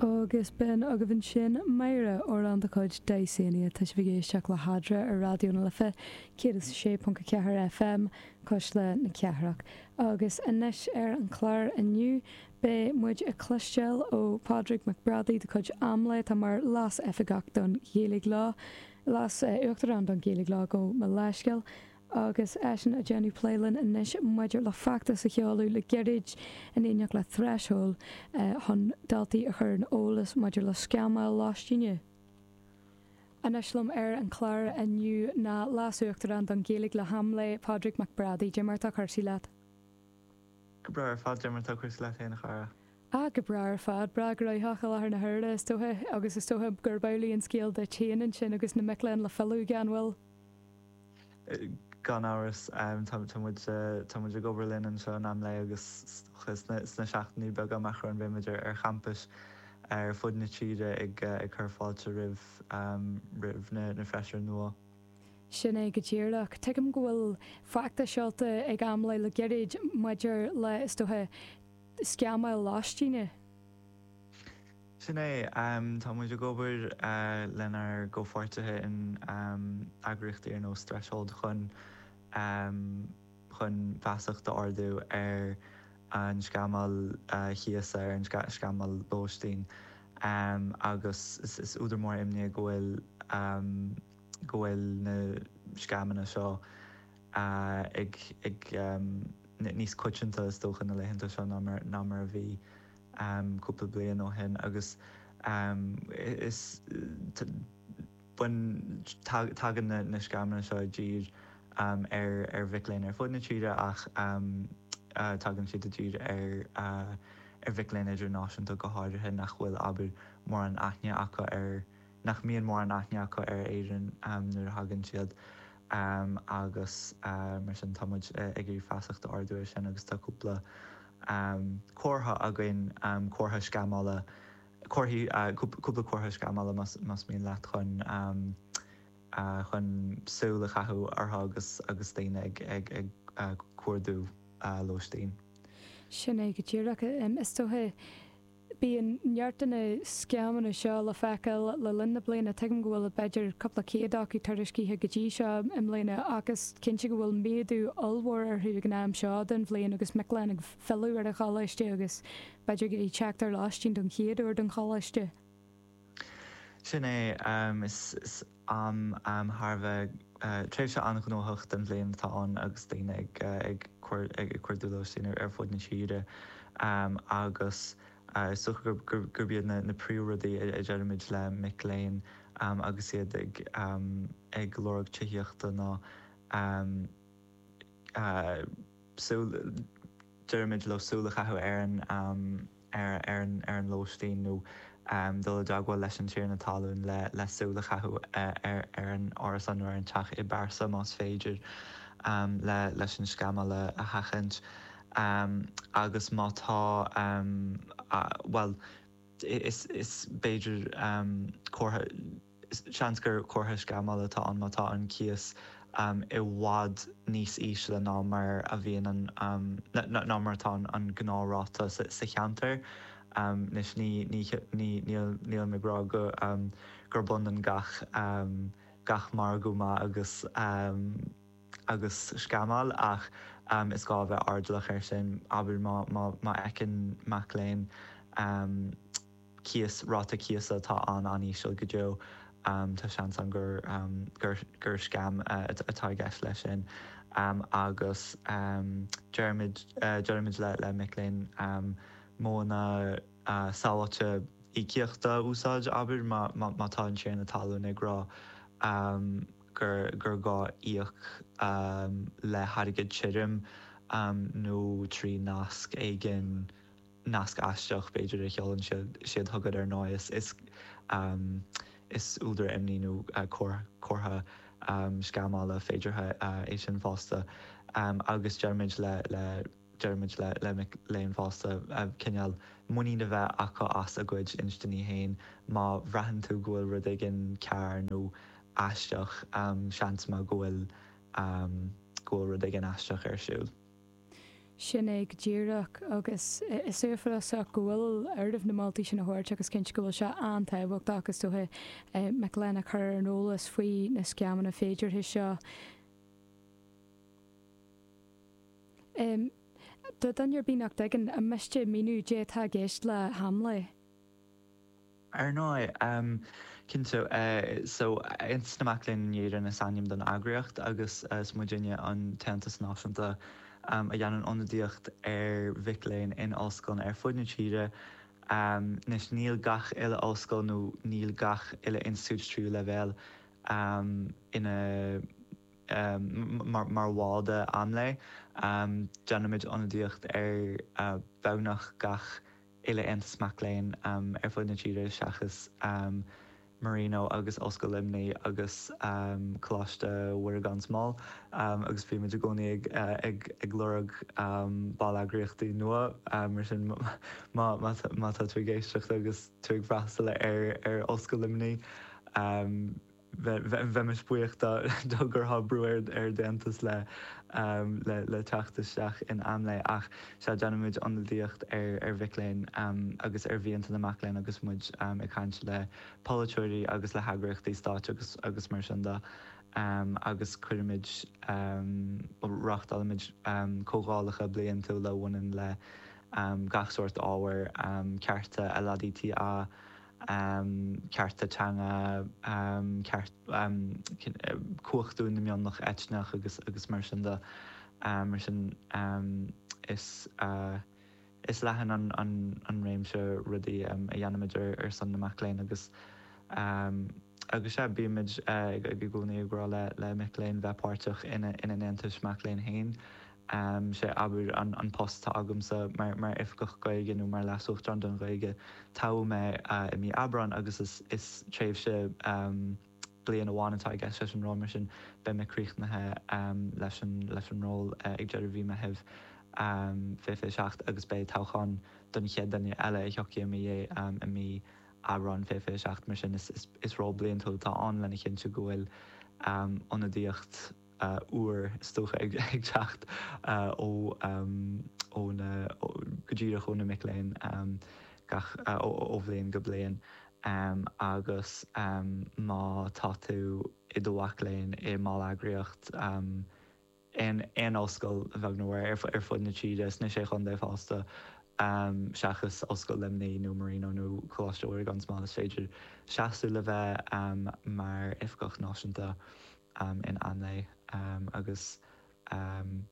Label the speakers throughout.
Speaker 1: Agus b'in agaibh ansin Máire, amhrán de chuid Dysania. Tá sibh ag éisteacht le hEadra ar Raidió na Life 106.4 FM, Cuisle na Cathrach. Agus anois ar an chlár inniu beidh muid ag cloisteáil ó Phádraig Mac Brádaigh de chuid AMLÉ atá mar Leas-Oifigeach don Ghaeilge Lá, Leas-Uachtarán don Ghaeilge Lá, gabh mo leithscéal. Agus eisean ag déanamh plé linn anois maidir le feachtas a sheoladh le gairid in éineacht le Threshold chun daltaí a chur ar an eolas maidir le sceamáil lóistíne. Anois liom ar an chlár inniu ná Leas-Uachtarán don Ghaeilge le hAMLÉ, Pádraig Mac Brádaigh. Dé mar atá cúrsaí leat?
Speaker 2: Go breá ar fad, dé mar atá cúrsaí leat féin, a chara?
Speaker 1: Ah, go breá ar fad. Breá gnóthach i láthair na huaire, is dócha, agus is dócha gurb amhlaidh an scéal duit féin ansin agus na mic léinn le filleadh, an bhfuil?
Speaker 2: Gan amhras, tá muid tá muid ag obair linn anseo in AMLÉ agus sna seachtainí beaga amach romhainn beidh muid ar champais ar fud na tíre ag cur fáilte roimh roimh na freisir nua.
Speaker 1: Sin é go díreach. Tuigim go bhfuil feachtas seolta ag AMLÉ le gairid maidir le, is dócha, sceamáil lóistíne.
Speaker 2: Sin é. Tá muid ag obair lenár gcomhpháirtithe in eagraíochtaí ar nós Threshold chun chun feasacht a ardú ar an sceamáil chíosa, ar an sceamáil lóistín agus is údar mór imní é go bhfuil go bhfuil na sceamanna seo ag ag níos coitianta is dócha na laethanta seo ná mar ná mar a bhí. cúpla bliain ó shin agus is bain tagann na sceamanna seo i dtír ar mhic léinn ar fud na tíre ach tagann siad i dtír ar ar mhic léinn idirnáisiúnta go háirithe nach bhfuil abair mórán aithne acu ar nach mbíonn mórán aithne acu ar Éirinn nuair a thagann siad agus mar sin tá muid ag iarraidh feasacht a ardú air sin agus tá cúpla comhartha againn, comhartha sceamála, comharthaí, cúpla comhartha sceamála más mian leat chun chun súil a chaitheamh orthu agus agus daoine ag ag ag cuardú lóistín.
Speaker 1: Sin é go díreach. Is dócha. Bíonn neart de na sceamanna seo le feiceáil le linn na bliana. Tuigim go bhfuil b'fhéidir cúpla céad acu tuairiscithe go dtí seo i mbliana ach is cinnte go bhfuil méadú ollmhór orthu ag an am seo den bhliain agus mic léinn ag filleadh ar an choláiste agus b'fhéidir ag teacht ar lóistín don chéad uair don choláiste.
Speaker 2: Sin é. Is am thar a bheith, tréimhse an-ghnóthach den bhliain atá ann agus daoine ag cuardú lóistín ar fud na tíre agus is dócha gurb iad na príomhrudaí a deirimid le mic léinn agus iad ag lorg tithíochta ná súil, deirimid leo súil a chaitheamh ar an. ar ar an lóistín nó dul i dteagmháil leis an tiarna talún le súil a chaitheamh ar ar an árasán nó ar an teach i bpearsa más féidir le leis an sceamáil a sheachaint. Agus má tá, bhuel, is is b'fhéidir comhartha, Seans gur comhartha sceamála atá ann má tá an cíos i bhfad níos ísle ná mar a bhíonn an ná mar atá an gnáthráta sa cheantar. Anois ní ní ní nílim ag rá go gurb ionann gach gach margadh maith agus agus sceamáil ach is gá a bheith airdeallach air sin. Abair má má má fheiceann mac léinn cíos, ráta cíosa atá an-an-íseal go deo, tá seans ann gur gur gur scam atá i gceist leis sin. Agus deirimid deirimid le le mic léinn modhanna sábháilte íocaíochta a úsáid, abair, má má má tá an tiarna talún ag rá gur gur gá íoc le hairgead tirim nó trí nasc éigin nasc aisteach, b'fhéidir, a sheolann siad chugat ar ndóigh. Is is údar imní nó comhartha sceamála féideartha é sin fosta. Agus deirimid le le deirimid le le mic léinn fosta cineál muinín a bheith acu as a gcuid instinní féin. Má bhraitheann tú go bhfuil rud éigin cearr nó aisteach, seans maith go bhfuil go bhfuil rud éigin aisteach ar siúl.
Speaker 1: Sin é go díreach, agus is uafásach go bhfuil oraibh na moltaí sin a thabhairt agus cinnte go bhfuil sé an-tábhachtach, is dócha, mic léinn a chur ar an eolas faoi na scéimeanna féideartha seo. Do dhuine ar bith nach dtuigeann, an miste míniú caidé atá i gceist le hAMLÉ?
Speaker 2: Ar ndóigh, cinnte. So, Aontas na Mac Léinn in Éirinn is ainm don eagraíocht agus is muidinne an t-aontas náisiúnta a dhéanann ionadaíocht ar mhic léinn in ollscoileanna ar fud na tíre. Anois, níl gach uile ollscoil nó níl gach uile institiúid tríú leibhéal ina mar bhall de AMLÉ. Déanaimid ionadaíocht ar beagnach gach uile aontas mac léinn ar fud na tíre seachas Marino agus Ollscoil Luimnigh agus Coláiste Mhuire gan Smál agus bímid i gcónaí ag lorg ball-eagraíochtaí nua mar sin má tá tú ag éisteacht agus tú ag freastal ar Ollscoil Luimnigh Bheimis buíoch dá gcuirfeá brú ar d'aontas le le teacht isteach in AMLÉ ach sea, déanaimid ionadaíocht ar mhic léinn agus ar mhianta na mac léinn agus muid ag caint le polaiteoirí agus le heagraíochtaí stáit agus agus mar sin de agus cuirimid, reáchtálaimid comhdhálacha bliantúla a bhaineann le gach sórt ábhair, cearta LADTA, cearta teanga, ceart, cumhachtú na mionlach eitneach agus agus mar sin de. Mar sin is is leathan an an an réimse rudaí a dhéanaimid ar ar son na mac léinn agus agus sea, bímid ag i gcónaí ag rá le le mic léinn bheith páirteach ina ina n-aontais mac léinn féin. Sé, abair, an post atá agamsa mar Oifigeach Gaeilge nó mar Leas-Uachtarán don Ghaeilge, toghadh mé i mí Aibreáin agus is tréimhse bliain amháin atá i gceist leis an ról, mar sin beidh mé críochnaithe leis an ról ag deireadh mhí Meithimh 2027 agus beidh toghchán don chéad duine eile a thiocfaidh i mo dhiaidh i mí Aibreáin 2027, mar sin is ról bliantúil atá ann lena chinntiú go bhfuil ionadaíocht úr, is dócha, ag teacht ó ó na, go díreach ó na mic léinn gach, ó bhliain go bliain. Agus má tá tú i do mhac léinn i mballeagraíocht aon aon ollscoil, a bheag nó a mhór, ar fud na tíre, sna Sé Chontae fosta, seachas Ollscoil Luimnigh nó Marino nó Coláiste Mhuire gan Smál, is féidir seasamh le bheith mar Oifigeach Náisiúnta. in AMLÉ agus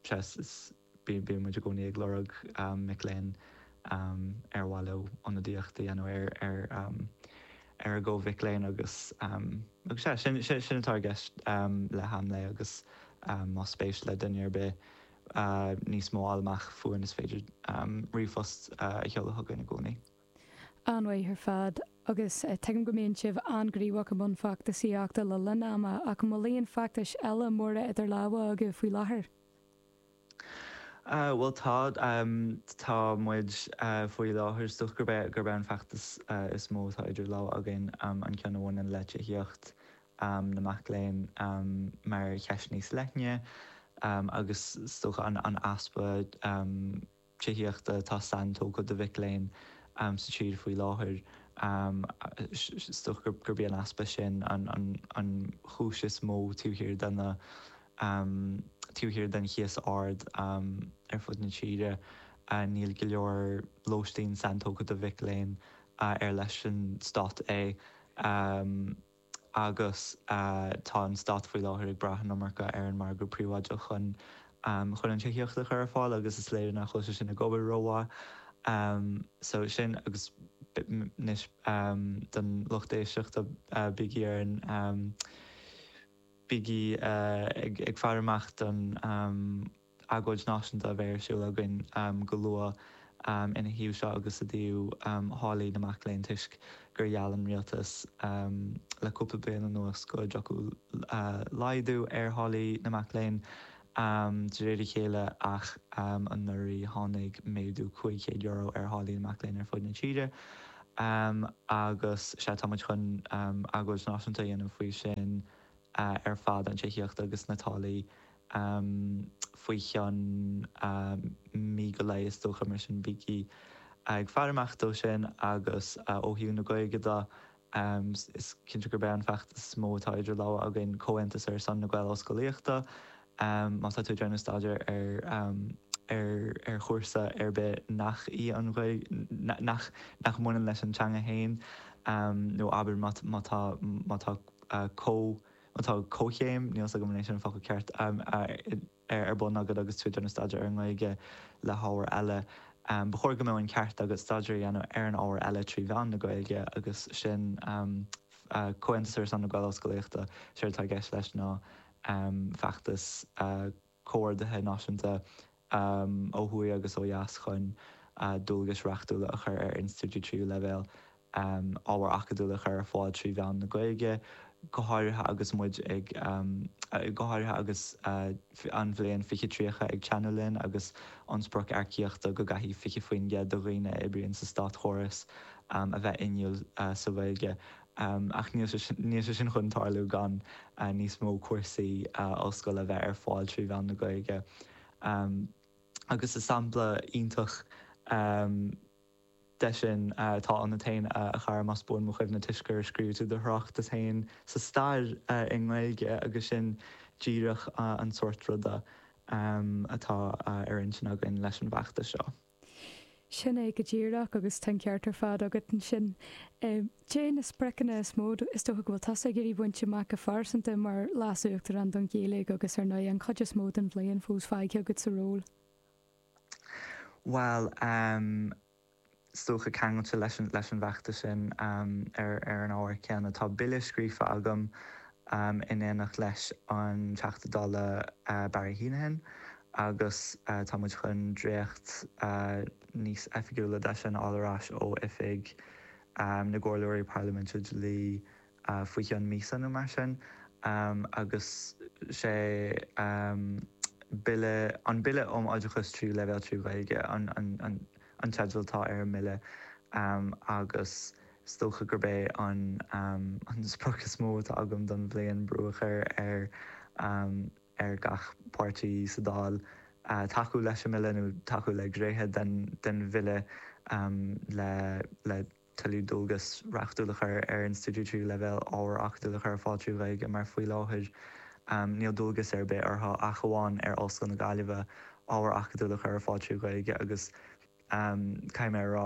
Speaker 2: sea, bíonn muid i gcónaí ag lorg mic léinn ar mhaith leo ionadaíocht a dhéanamh ar ar a gcomh-mhic léinn agus agus sea, sin sin atá i gceist le hAMLÉ agus más spéis le duine ar bith níos mó a fháil amach fúinn is féidir ríomhphost a sheoladh chugainn i gcónaí.
Speaker 1: An-mhaith ar fad. Agus tuigim go mbíonn sibh an-ghníomhach i mbun feachtasaíochta le linn ama, ach an bhfuil aon feachtais eile móra idir lámha agaibh faoi láthair?
Speaker 2: Bhuel tá. Tá muid faoi láthair, is dócha gurb é gurb é an feachtas is mó atá idir lámha againn an ceann a bhaineann le tithíocht na mac léinn mar cheist níos leithne agus is dócha an easpa tithíochta atá saintógtha do mhic léinn sa tír faoi láthair. Is dócha gurb í an easpa sin an chúis is mó taobh thiar de na taobh thiar den chíos ard ar fud na tíre. Níl go leor lóistín saintógtha do mhic léinn ar leis an stát é. agus tá an stát faoi láthair ag brath an iomarca ar an margadh príobháideach chun chun an tithíocht a chur ar fáil agus is léir nach bhfuil sé sin ag obair rómhaith. So sin agus anois don lucht éisteachta bígí ar an bígí ag faire amach don agóid náisiúnta a bheidh ar siúl againn go luath ina thaobh seo agus i dtaobh tháillí na mac léinn toisc gur gheall an rialtas le cúpla bliain anuas go dtiocfadh laghdú ar tháillí na mac léinn de réir a chéile ach anuraidh tháinig méadú €500 ar tháillí na mac léinn ar fud na tíre agus sea tá muid chun agóid náisiúnta a dhéanamh faoi sin ar fad, an tithíocht agus na táillí. Faoi cheann mí go leith is dócha, mar sin bígí ag faire amach dó sin agus ó thaobh na Gaeilge de, Is cinnte gurb é an feachtas is mó atá idir lámha againn Comhaontas ar son na Gael-Ollscolaíochta. Má tá tú ag déanamh staidéir ar ar chúrsa ar bith nach í an Ghaeilge, nach nach mbaineann leis an teanga féin, nó abair má má tá má tá comh má tá comhchéim, níl 's agam an é sin an focal ceart, ar bun agat agus tú ag déanamh staidéir ar an nGaeilge le hábhar eile. Ba chóir go mbeadh an ceart agat staidéar a dhéanamh ar an ábhar eile trí mheán na Gaeilge agus sin Comhaontas ar son na Gael-Ollscolaíochta. Séard atá i gceist leis ná feachtas comhordaithe náisiúnta ó thuaidh agus ó dheas chun dualgais reachtúla a chur ar institiúidí tríú leibhéal ábhair acadúla a chur ar fáil trí mheán na Gaeilge, go háirithe agus muid ag, go háirithe agus an bhliain 2030 ag teannadh linn agus an sprioc earcaíochta go gcaithfidh 20% de dhaoine a oibríonn sa státchóras a bheith inniúil sa Ghaeilge. Ach níl sé níl sé sin chun tarlú gan níos mó cúrsaí ollscoile a bheith ar fáil trí mheán na Gaeilge. Agus is sampla iontach de sin atá ionat féin, a chara, más buan mo chuimhne, toisc gur scríobh tú do thráchtas féin sa stair i nGaeilge agus sin díreach an sórt ruda atá ar intinn againn leis an bhfeachtas seo.
Speaker 1: Sin é go díreach agus tá an ceart ar fad agat ansin. Cé na spriocanna is mó is dócha go bhfuil tusa ag iarraidh baint amach go pearsanta mar Leas-Uachtarán don Ghaeilge agus ar ndóigh an chuid is mó den bhliain fós fágtha agat sa ról?
Speaker 2: Bhuel, is dócha ceangailte leis an leis an bhfeachtas sin ar ar an ábhar céanna, tá bille scríofa agam in éineacht leis an Teachta Dála Barry Heneghan agus tá muid chun dréacht níos oifigiúla de sin a fháil ar ais ó Oifig na gComhairleoirí Parlaiminte Dlí faoi cheann míosa nó mar sin agus sé Bille, an Bille um Oideachas Tríú Leibhéal trí Ghaeilge an teideal atá ar an mbille agus is dócha gurb é an sprioc is mó atá agam don bhliain brú a chur ar ar gach páirtí sa Dáil tacú leis an mbille nó tacú le gnéithe den bhille le tuilleadh dualgas reachtúil a chur ar institiúidí tríú leibhéal ábhar acadúil a chur ar fáil trí Ghaeilge mar faoi láthair níl dualgas ar bith orthu ach amháin ar Ollscoil na Gaillimhe ábhar acadúil a chur ar fáil trí Ghaeilge agus caithfidh mé a rá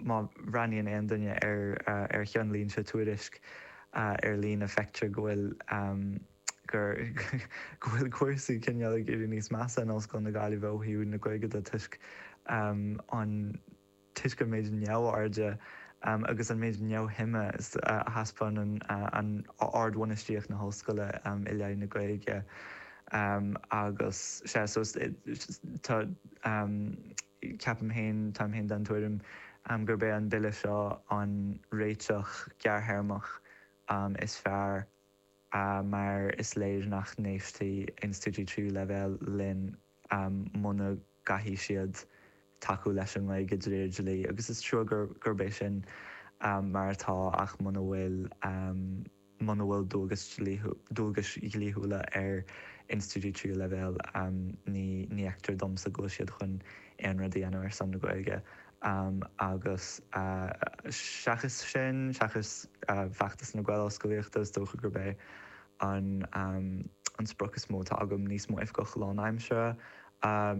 Speaker 2: má bhreathnaíonn aon duine ar ar cheannlínte Tuairisc ar líne feictear go bhfuil gur go bhfuil cúrsaí cineál ag éirí níos measa in Ollscoil na Gaillimhe ó thaobh na Gaeilge de toisc an toisc an méid neamhairde agus an méid neamhshuime a thaispeánann an ardbhainistíocht na hollscoile i leith na Gaeilge agus sea so tá ceapaim féin, táim féin den tuairim gurb é an bille seo an réiteach gearrthéarmach is fearr mar is léir nach n-éistfidh institiúidí tríú leibhéal linn muna gcaithfidh siad tacú leis an nGaeilge de réir dlí agus is trua gurb é sin mar atá ach muna bhfuil muna bhfuil dualgais dualgais dhlíthiúla ar institiúidí tríú leibhéal ní ní fheictear domsa go bhfuil siad chun aon rud a dhéanamh ar son na Gaeilge agus seachas sin seachas feachtas na Gael-Ollscolaíochta is dócha gurb é an an sprioc is mó atá agam níos mó oifigeach lánaimseartha,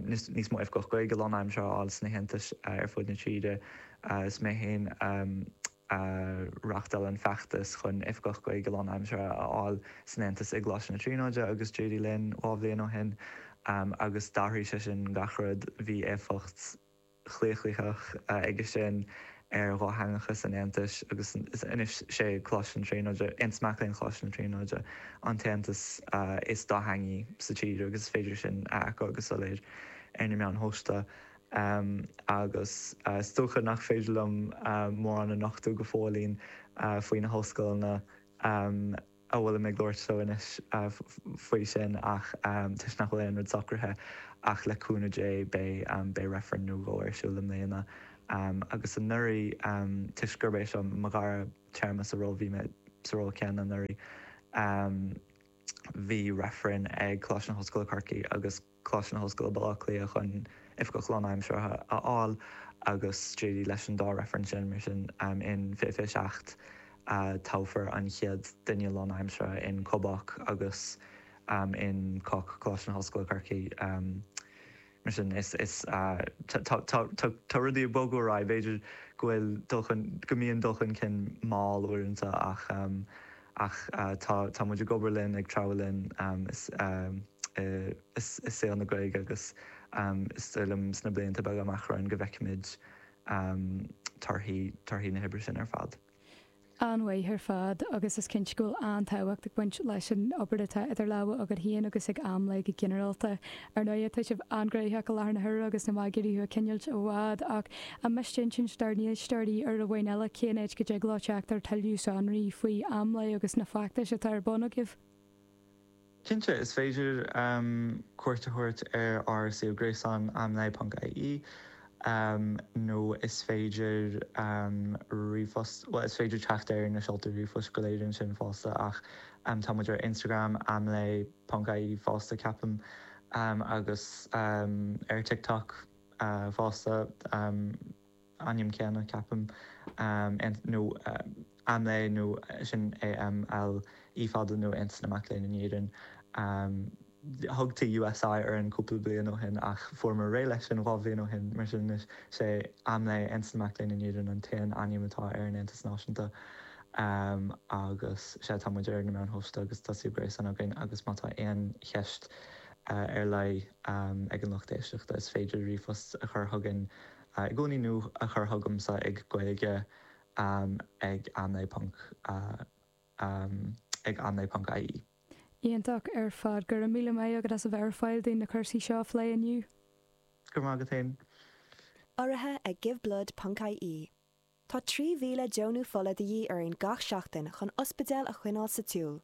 Speaker 2: níos mó oifigeach Gaeilge lánaimseartha a fháil sna haontais ar fud na tíre. Is mé féin a reáchtáil an feachtas chun oifigeach Gaeilge lánaimseartha a fháil san Aontas i gColáiste na Tríonóide agus d'éirigh linn 2 bhliain ó shin agus d'athraigh sé sin gach rud. Bhí éifeacht. chlaochlaitheach aige sin ar dhátheangachas an Aontais agus anois sé Coláiste na Tríonóide, Aontas Mac Léinn Choláiste na Tríonóide, an t-aontas is dátheangaí sa tír agus is féidir sin a fheiceáil go soiléir ar na meáin shóisialta. Agus is dócha nach féidir liom mórán a nochtadh go fóillín faoi na hollscoileanna a bhfuilim ag labhairt leo anois faoi sin ach toisc nach bhfuil aon rud socraithe ach le cúnamh Dé beidh beidh reifreann nó dhó ar siúl i mbliana. Agus anuraidh toisc gurb é seo mo dhara téarma sa ról bhí mé sa ról céanna anuraidh. Bhí reifreann ag Coláiste na hOllscoile Corcaigh agus Coláiste na hOllscoile Baile Átha Cliath chun Oifigeach Lánaimseartha a fháil agus d'éirigh leis an dá reifreann sin, mar sin in 2027 toghfar an chéad duine lánaimseartha in Cobác agus in COC, Coláiste na hOllscoile Corcaigh. Mar sin is is tá tá rudaí ag bogadh ar aghaidh, b'fhéidir go bhfuil dul chun go mbíonn dul chun cinn mall uaireanta ach ach tá tá muid ag obair linn, ag treabhadh linn is i saol na Gaeilge agus is dóigh liom sna blianta beaga amach romhainn go bhfeicfimid torthaí torthaí na hoibre sin ar fad.
Speaker 1: An-mhaith ar fad agus is cinnte go bhfuil an-tábhacht ag baint leis an obair atá idir lámha agat féin agus ag AMLÉ go ginearálta. Ar ndóighe, tá sibh an-ghnoitheach i láthair na huaire agus níl mé ag iarraidh thú a choinneáilt i bhfad ach an miste insint dár n-éisteoirí uair amháin eile cén áit go dtig leo teacht ar tuilleadh sonraí faoi AMLÉ agus na feachtais atá ar bun agaibh?
Speaker 2: Cinnte, is féidir cuairt a thabhairt ar ár suíomh gréasáin amlé.ie nó is féidir ríomhphost, bhuel is féidir teacht ar na seoltaí ríomhphoist go léir ansin fosta ach tá muid ar Instagram amlé.ie fosta ceapaim agus ar TikTok fosta. ainm céanna, ceapaim, nó AMLÉ nó sin A-M-L E fada nó Aontas na Mac Léinn in Éirinn. Thugtaí USI orainn cúpla bliain ó shin ach fuaireamar réidh leis sin 2 bhliain ó shin, mar sin anois is é AMLÉ, Aontas na Mac Léinn in Éirinn, an t-aon ainm atá ar an Aontas Náisiúnta. Agus sea, tá muid ar na meáin shóisialta agus tá suíomh gréasáin againn agus má tá aon cheist ar leith ag an lucht éisteachta is féidir ríomhphost a chur chugainn i gcónaí nó a chur chugamsa ag gaeilge ag amlé ponc ag amlé ponc ie.
Speaker 1: Iontach ar fad. Go raibh míle maith agat as a bheith ar fáil dúinn na cúrsaí seo a phlé inniu.
Speaker 2: Go raibh maith agat féin.
Speaker 3: Urraithe ag Giveblood ponc ie. Tá 3,000 deonú fola de dhíth orainn gach seachtain chun ospidéil a choinneáil sa tsiúl.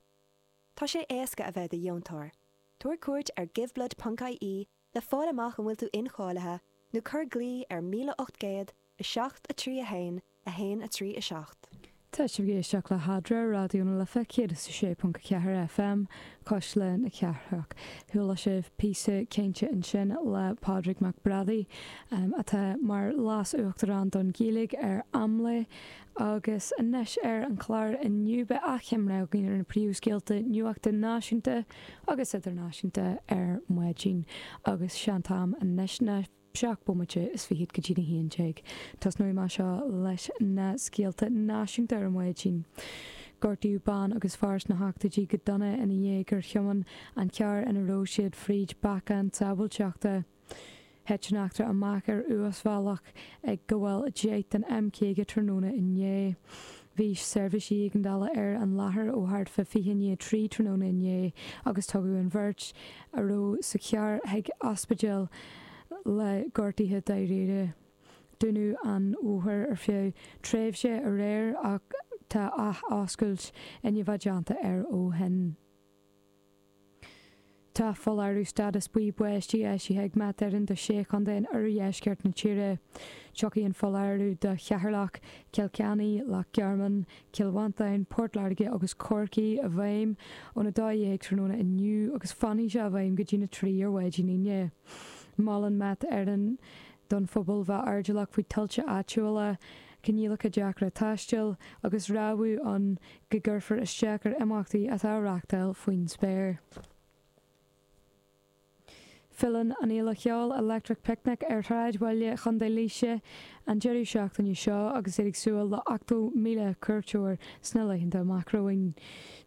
Speaker 3: Tá sé éasca a bheith i do dheontóir. Tabhair cuairt ar Giveblood ponc ie le fáil amach an bhfuil tú incháilithe nó cuir glao ar 1800 7 3 1 1 3 7.
Speaker 1: Tá sibh ag éisteacht le hEadra, Raidió na Life 106.4 FM, Cuisle na Cathrach. Chuala sibh píosa cainte ansin le Pádraig Mac Brádaigh, atá mar Leas-Uachtarán don Ghaeilge ar AMLÉ, agus anois ar an chlár inniu beidh achoimre againn ar na príomhscéalta nuachta náisiúnta agus idirnáisiúnta ar maidin agus sé an t-am anois ná 7 bomaite is fichead go dtí'n 11. Tosnóidh mé seo leis na scéalta náisiúnta ar maidin. Gortaíodh bean agus fear sna hochtóidí go dona ina dhiaidh gur thiomáin an carr ina raibh siad fríd bacán sábháilteachta. Thit an eachtra amach ar uasbhealach ag gabháil 10 den M50 tráthnóna inné. Bhí seirbhísí éigeandála ar an láthair ó thart fá 3:20 i ndiaidh tráthnóna inné agus tugadh an bheirt a raibh sa charr chuig ospidéal le gortuithe dáiríre. Dúnadh an bóthar ar feadh tréimhse aréir ach tá ath-oscailt i ndiaidh a bheith déanta air ó shin. Tá foláireamh stádas buí báistí eisithe ag Met Éireann do sé chontae in oirdheisceart na tíre. Tiocfaidh an foláireamh do Cheatharlach, Cill Chainnigh, Loch Garman, Cill Mhantáin, Port Láirge agus Corcaigh i bhfeidhm óna 12:00 tráthnóna inniu agus fanfaidh sé i bhfeidhm go dtína 3 ar mhaidin Aoine. Molann Met Éireann don phobal bheith airdeallach faoi tuilte áitiúla, coinníollacha deacra taistil agus rabhadh ann go gcuirfear isteach ar imeachtaí atá á reáchtáil faoin spéir. Filleann an fhéile cheoil Electric Picnic ar shráidbhaile Chontae Laoise an deireadh seachtaine seo agus iad ag súil le 80,000 cuairteoir sna laethanta amach romhainn.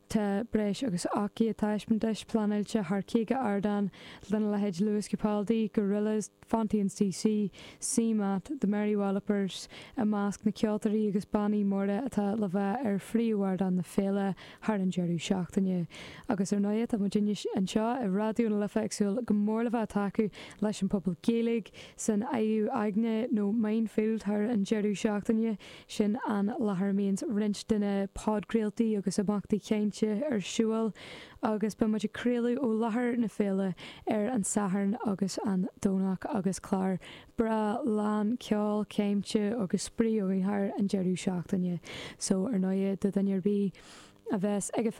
Speaker 1: Tá breis agus 800 taispeántais pleanáilte thar 50 ardán lena leithéid Lewis Capaldi, Gorillaz, Fontaines DC, CMAT, The Mary Wallopers i measc na ceoltóirí agus bannaí móra atá le bheith ar phríomhardán na féile thar an deireadh seachtaine. Agus ar ndóigh tá muid anseo i Raidió na Life ag súil go mór le bheith ag tacú leis an pobal Gaeilge san Adhadh Aigne nó Mindfield thar an deireadh seachtaine. Sin an láthair a mbíonns roinnt de na podchraoltaí agus imeachtaí cainte ar siúl agus beidh muid ag craoladh ó láthair na féile ar an Satharn agus an Domhnach agus clár breá lán ceoil, cainte agus spraoi againn thar an deireadh seachtaine. So ar ndóigh do dhuine ar bith a bheas ag an.